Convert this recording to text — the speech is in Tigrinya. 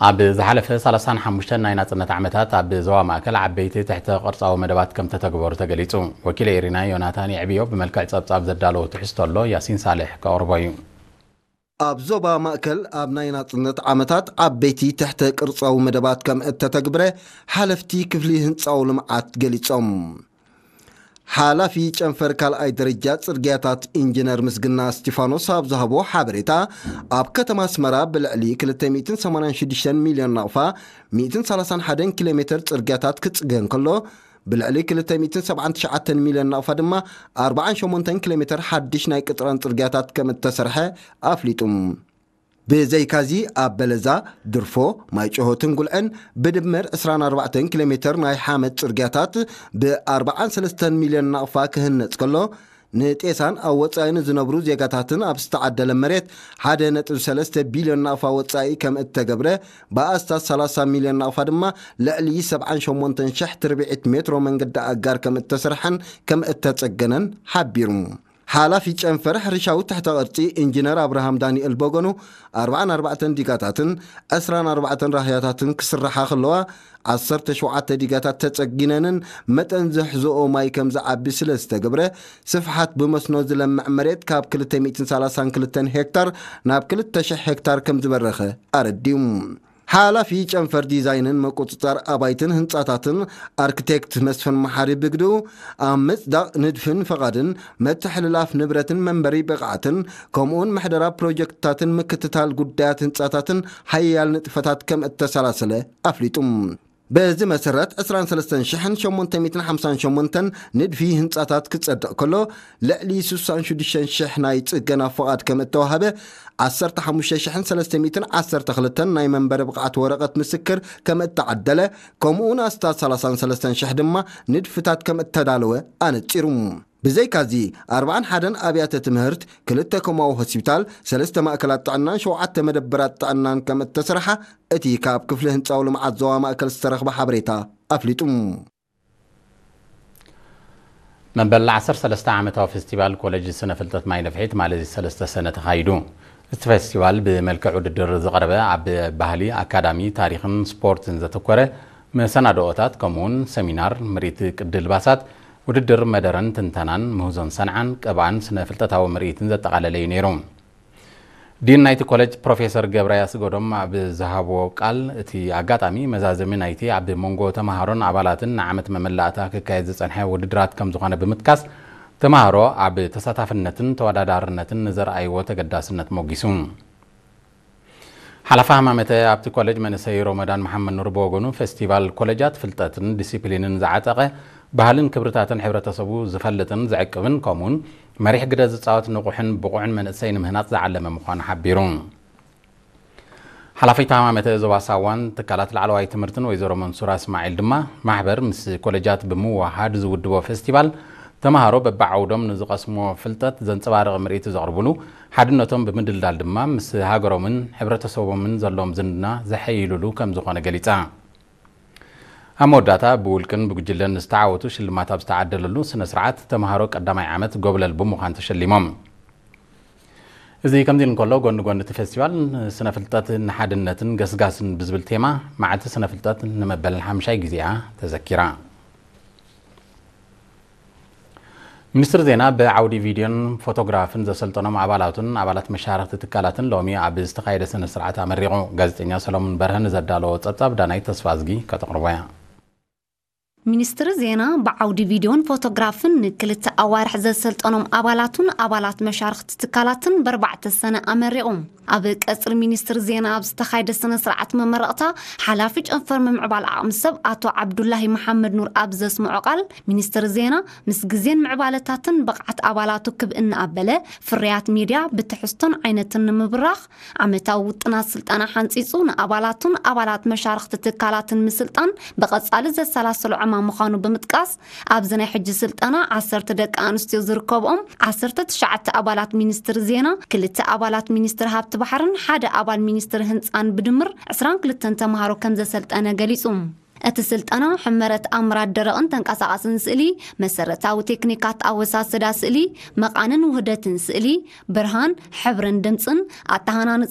ኣብ ዝሓለፈ ሰላሳን ሓሙሽተን ናይ ናጽነት ዓመታት ኣብ ዞባ ማእከል ዓበይቲ ትሕተ ቅርጻዊ መደባት ከም ተተግበሩ ተገሊጹ። ወኪል ኤሪና ዮናታን የዕብዮ ብመልክዕ ጸብጻብ ዘዳለዎ ትሕዝቶ ኣሎ፣ ያሲን ሳልሕ ከቕርቦ እዩ። ኣብ ዞባ ማእከል ኣብ ናይ ናጽነት ዓመታት ዓበይቲ ትሕተ ቅርጻዊ መደባት ከም እተተግብረ ሓለፍቲ ክፍሊ ህንጻዊ ልምዓት ገሊጾም። ሓላፊ ጨንፈር ካልኣይ ደረጃ ጽርግያታት ኢንጂነር ምስግና እስቲፋኖስ ኣብ ዝሃቦ ሓበሬታ፣ ኣብ ከተማ ኣስመራ ብልዕሊ ክልተ ሚእትን ሰማንያን ሽዱሽተን ሚልዮን ናቕፋ ሚእትን ሰላሳን ሓደን ኪሎ ሜተር ጽርግያታት ክጽገ እንከሎ፣ ብልዕሊ ክልተ ሚእትን ሰብዓን ትሽዓተን ሚልዮን ናቕፋ ድማ ኣርባዓን ሸሞንተን ኪሎ ሜተር ሓድሽ ናይ ቅጥራን ጽርግያታት ከም እተሰርሐ ኣፍሊጡ። ብዘይካዚ ኣብ በለዛ፣ ድርፎ፣ ማይጨሆትን ጉልዕን ብድምር ዕስራን ኣርባዕተን ኪሎ ሜተር ናይ ሓመድ ጽርግያታት ብ ኣርባዓን ሰለስተን ሚልዮን ናቕፋ ክህነጽ ከሎ፣ ንጤሳን ኣብ ወጻኢ ንዝነብሩ ዜጋታትን ኣብ ዝተዓደለ መሬት ሓደ ነጥቢ ሰለስተ ቢልዮን ናቕፋ ወጻኢ ከም እተገብረ ብኣስታት ሰላሳ ሚልዮን ናቕፋ ድማ ልዕሊ ሰብዓን ሸሞንተን ሽሕ ትርብዒት ሜትሮ መንገዲ ኣጋር ከም እተሰርሐን ከም እተጸገነን ሓቢሩ። ሓላፊ ጨንፈር ሕርሻዊ ትሕተ ቅርጺ ኢንጂነር ኣብርሃም ዳንኤል በገኑ፣ ኣርባዓን ኣርባዕተን ዲጋታትን ዕስራን ኣርባዕተን ራህያታትን ክስርሓ ከለዋ፣ ዓሰርተ ሸውዓተ ዲጋታት ተጸጊነንን መጠን ዝሕዝኦ ማይ ከም ዝዓቢ ስለ ዝተገብረ፣ ስፍሓት ብመስኖ ዝለምዕ መሬት ካብ ክልተ ሚእትን ሰላሳን ክልተን ሄክታር ናብ ክልተ ሽሕ ሄክታር ከም ዝበረኸ ኣረዲኡ። ሓላፊ ጨንፈር ዲዛይንን ምቁጽጻር ኣባይትን ህንጻታትን ኣርክቴክት መስፍን መሓሪ ብግድኡ፣ ኣብ ምጽዳቕ ንድፍን ፈቓድን፣ መተሕልላፍ ንብረትን መንበሪ ብቕዓትን፣ ከምኡውን ምሕደራ ፕሮጀክትታትን ምክትታል ጉዳያት ህንጻታትን ሓያል ንጥፈታት ከም እተሰላሰለ ኣፍሊጡ። በዚ መሰረት፣ ዕስራን ሰለስተን ሽሕን ሸሞንተ ሚእትን ሓምሳን ሸሞንተን ንድፊ ህንጻታት ክጸድቕ ከሎ፣ ልዕሊ ስሳን ሽዱሽተን ሽሕ ናይ ጽገና ፍቓድ ከም እተዋህበ፣ ዓሰርተ ሓሙሽተ ሽሕን ሰለስተ ሚእትን ዓሰርተ ክልተን ናይ መንበሪ ብቕዓት ወረቐት ምስክር ከም እተዓደለ፣ ከምኡውን ኣስታት ሰላሳን ሰለስተን ሽሕ ድማ ንድፍታት ከም እተዳለወ ኣነጺሩ። ብዘይካዚ፣ ኣርባዓን ሓደን ኣብያተ ትምህርት፣ ክልተ ኮማዊ ሆስፒታል፣ ሰለስተ ማእከላት ጥዕናን ሸውዓተ መደበራት ጥዕናን ከም እተሰርሓ እቲ ካብ ክፍሊ ህንጻዊ ልምዓት ዞባ ማእከል ዝተረኽበ ሓበሬታ ኣፍሊጡ። መበል ዓሰርተ ሰለስተ ዓመታዊ ፌስቲቫል ኮሌጅ ስነ ፍልጠት ማይ ነፍሒ ትማሊ ሰለስተ ሰነ ተኻይዱ። እቲ ፌስቲቫል ብመልክዕ ውድድር ዝቐረበ ኣብ ባህሊ፣ ኣካዳሚ፣ ታሪኽን ስፖርትን ዘተኮረ መሰናድኦታት፣ ከምኡውን ሰሚናር፣ ምርኢት ቅዲ ልባሳት፣ ውድድር መደረን ትንተናን፣ ምህዞን ሰንዓን፣ ቀብኣን ስነ ፍልጠታዊ ምርኢትን ዘጠቓለለ እዩ ነይሩ። ዲን ናይቲ ኮሌጅ ፕሮፌሰር ገብረ ያስገዶም ኣብ ዝሃብዎ ቃል፣ እቲ ኣጋጣሚ መዛዘሚ ናይቲ ኣብ መንጎ ተምሃሮን ኣባላትን ንዓመት መመላእታ ክካየድ ዝጸንሐ ውድድራት ከም ዝኾነ ብምጥቃስ፣ ተምሃሮ ኣብ ተሳታፍነትን ተወዳዳርነትን ንዘርኣይዎ ተገዳስነት ሞጊሱ። ሓላፊ ሃማመተ ኣብቲ ኮሌጅ መንእሰይ ሮመዳን መሓመድ ኑር ብወገኑ፣ ፌስቲቫል ኮሌጃት ፍልጠትን ዲሲፕሊንን ዝዓጠቐ፣ ባህልን ክብርታትን ሕብረተሰቡ ዝፈልጥን ዝዕቅብን፣ ከምኡውን መሪሕ ግደ ዝጻወት ንቑሕን ብቑዕን መንእሰይ ንምህናጽ ዝዓለመ ምዃኑ ሓቢሩ። ሓላፊት ሃማመተ ዞባ ሳዋን ትካላት ላዕለዋይ ትምህርትን ወይዘሮ መንሱራ እስማዒል ድማ፣ ማሕበር ምስ ኮሌጃት ብምውሃድ ዝውድቦ ፌስቲቫል፣ ተምሃሮ በብዓውዶም ንዝቐስምዎ ፍልጠት ዘንጸባርቕ ምርኢት ዘቕርብሉ፣ ሓድነቶም ብምድልዳል ድማ ምስ ሃገሮምን ሕብረተሰቦምን ዘለዎም ዝምድና ዘሐይሉሉ ከም ዝኾነ ገሊጻ። ኣብ መወዳእታ፣ ብውልቅን ብጉጅለን ዝተዓወቱ ሽልማት ኣብ ዝተዓደለሉ ስነ ስርዓት፣ ተምሃሮ ቀዳማይ ዓመት ጎብለል ብምዃን ተሸሊሞም። እዚ ከምዚ ኢሉ እንከሎ፣ ጎኒ ጎኒ እቲ ፌስቲቫል፣ ስነ ፍልጠት ንሓድነትን ገስጋስን ብዝብል ቴማ፣ መዓልቲ ስነ ፍልጠት ንመበል ሓምሻይ ግዜኣ ተዘኪራ። ሚኒስትሪ ዜና ብዓውዲ ቪድዮን ፎቶግራፍን ዘሰልጠኖም ኣባላቱን ኣባላት መሻርኽቲ ትካላትን ሎሚ ኣብ ዝተኻየደ ስነ ስርዓት ኣመሪቑ። ጋዜጠኛ ሰሎሞን በርሀ ንዘዳለዎ ጸብጻብ ዳናይት ተስፋዝጊ ከተቕርቦ እያ። ሚኒስትሪ ዜና ብዓውዲ ቪድዮን ፎቶግራፍን ንክልተ ኣዋርሕ ዘሰልጠኖም ኣባላቱን ኣባላት መሻርኽቲ ትካላትን በርባዕተ ሰነ ኣመሪቑ። ኣብ ቀጽሪ ሚኒስትሪ ዜና ኣብ ዝተኻየደ ስነ ስርዓት መመረቕታ፣ ሓላፊ ጨንፈር ምምዕባል ዓቕሚ ሰብ ኣቶ ዓብዱላሂ መሓመድ ኑር ኣብ ዘስምዖ ቃል፣ ሚኒስትሪ ዜና ምስ ግዜን ምዕባለታትን ብቕዓት ኣባላቱ ክብ እናኣበለ፣ ፍርያት ሚድያ ብትሕዝቶን ዓይነትን ንምብራኽ፣ ዓመታዊ ውጥናት ስልጠና ሓንጺጹ ንኣባላቱን ኣባላት መሻርኽቲ ትካላትን ምስልጣን ብቐጻሊ ዘሰላሰሎ ዕማም ምዃኑ ብምጥቃስ፣ ኣብዚ ናይ ሕጂ ስልጠና ዓሰርተ ደቂ ኣንስትዮ ዝርከብኦም ዓሰርተ ትሽዓተ ኣባላት ሚኒስትሪ ዜና፣ ክልተ ኣባላት ሚኒስትሪ ሃብቲ ባሕርን ሓደ ኣባል ሚኒስትሪ ህንጻን ብድምር ዕስራን ክልተን ተምሃሮ ከም ዘሰልጠነ ገሊጹ። እቲ ስልጠና ሕመረት ኣምራት ደረቕን ተንቀሳቓስን ስእሊ፣ መሰረታዊ ቴክኒካት ኣወሳስዳ ስእሊ፣ መቓንን ውህደትን ስእሊ፣ ብርሃን፣ ሕብርን ድምጽን፣ ኣተሃናንጻ